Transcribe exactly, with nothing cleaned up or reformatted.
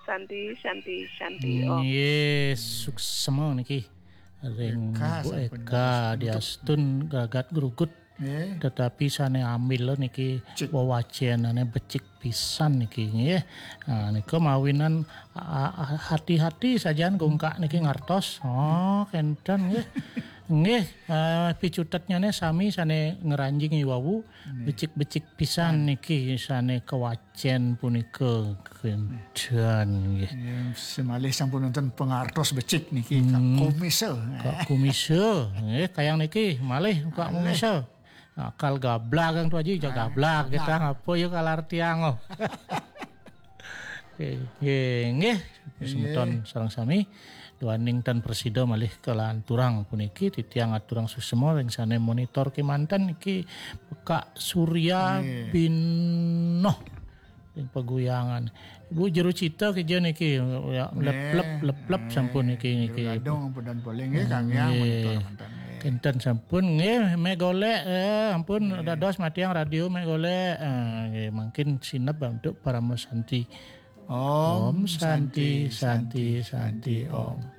Santi, Santi, Santi Om. Nggih, suksma niki. Ring Eka Bu sampun Eka diastun gagat grugut. Nggih. Tetapi sane ambil niki Cik. wewacenane becik pisan niki nggih. Nah, nika mawinan a- a- hati-hati sajan gungkak niki ngartos. Oh, kenten nggih. Nggih, eh, picutetnyane sami sane ngranjing iwawu becik-becik pisan niki sane kewacen punika kenten nggih. Ya, semalih sampun nonton pengartos becik niki Kak Komisa. Kak Kumisa, nggih kayang niki malih Kak Kumisa. Akal gablag kang tu aja ijak gablag kita ngapa ya kalar tiang oh. Nggih, nggih, semeton sareng sami. Duaning tan presida malih kelanturang puniki titiang aturang susema ring sane monitor kemanten niki Kak Surya Binoh ring paguyangan. Ibu jero cita keja niki ya leplep leplep sampun niki niki. Gadung ampun dan polling nggih Kang ya monitor mantan. Nggih. Kenten sampun nggih meh golek eh, ampun dados matiang radio meh golek. Eh, nggih mangkin sineb untuk Parama Santi. Om Santi Santi Santi Om.